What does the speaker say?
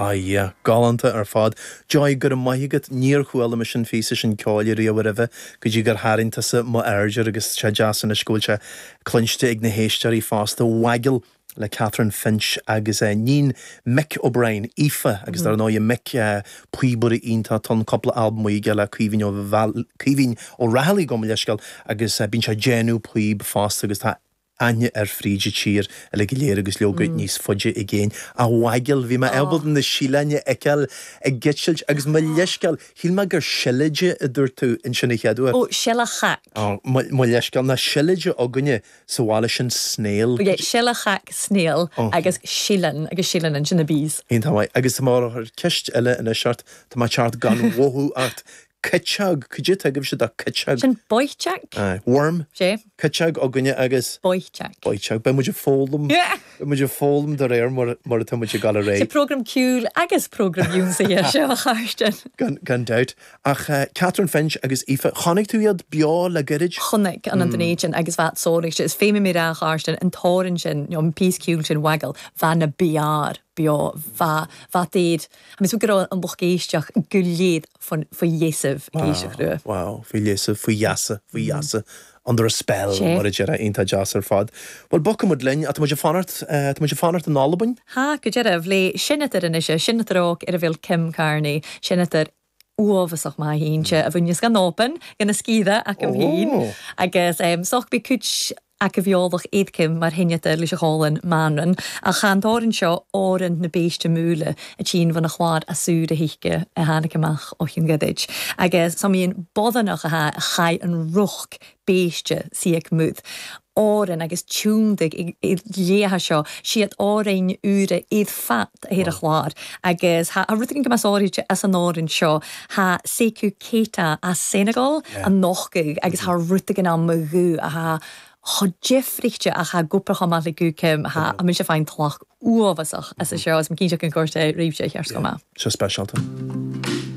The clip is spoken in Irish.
Ah yeah, galánta ar fad. Joy, go raibh maith agat, níor chuala mise an phíosa sin ceoil riamh roimhe go dtí gur tharraing tusa m'aird air agus tá sé deas anois go bhfuil sé cluinste ag na héisteoirí fosta. Waggle le Catherine Finch agus níon Mick O'Brien, Aoife, agus dar ndóigh Mick, píobaire iontach, tá cúpla albam aige le Caoimhín Ó Caoimhín Ó Raghallaigh gabh mo leithscéal agus bíonn sé ag déanamh píob fosta agus tá aithne air fríd an tír uilig go léir agus leoga níos faide i gcéin. A Waggle, bhí mé ábalta na síleáin a fheiceáil ag eitilt agus mo leithscéal, shíl mé gur seilide a dúirt tú ansin an chéad uair. Ó, seileach. Ó, mo leithscéal, ná seilide againne sa bhaile sin snail. Ok, seileach snail agus síleann agus síleann ansin na bees. Iontach maith. Agus tá mé ag cur ceist eile anois ort, tá mé ag teacht gan mhothú ort. Cuiteog, cad é atá agaibhse do cuiteog? Sin boitheach. Aye. Worm. Sé. Cuiteog againne agus. Boitheach. Boitheach. Beidh muid ag foghlaim. Beidh muid ag foghlaim de réir mar mar atá muid ag dul ar aghaidh. Sé program ceoil agus program ionsaithe seo a Chairsten. Gan gan dabht. Ach Catherine Finch agus Aoife, chonaic tú iad beo le gairid? Chonaic an an Dunedin agus bheadh sóraigh is féidir mé rá a Chairsten an torann sin nó an píosa ceoil sin Waggle bheadh na beár beo bheadh bheadh daoid I mean, go raibh an lucht éisteach go léir faoi gheasa ag éisteacht leo. Wow, faoi gheasa, faoi gheasa, faoi gheasa, under a spell, mar a déarfá, iontach deas ar fad. Bhuel, bogfaidh muid linn, tá muid ag fanacht, tá muid ag fanacht in Albain? Ha, go deireadh, le seinnteoir anois, seinnteoir óg ar a bhfuil Kim Carnie, seinnteoir uafásach maith inse a bhaineas gan Albain, gan a sciath acu féin, agus soch bí cuid acu bheolach éadcim mar sheinnteoir leis an cholainn Manran, ach chan torann seo Árann na Béiste Múile a tchíonn bhun a chlár asúr a thuisce a tháinig amach ó Chionn Ghaidhid, agus so mbíonn bodhanach a chaith an ruc béiste siac múd Árann agus tiúndaigh i léithe seo siad Árainn úra iad fat a ar a chlár agus tha rud éigin go mbeas áirithe as an Árainn seo tha Sékou Keita as Senegal a nochtadh agus tha rud éigin ann mo ghuth a tha chomh difríte ach tha gcúpla chomh maith le guth Kim tha mise fáin tlach uafásach as seo is mo cinnte go gcuirtear réimse cheart chomh maith. Seo speisialta.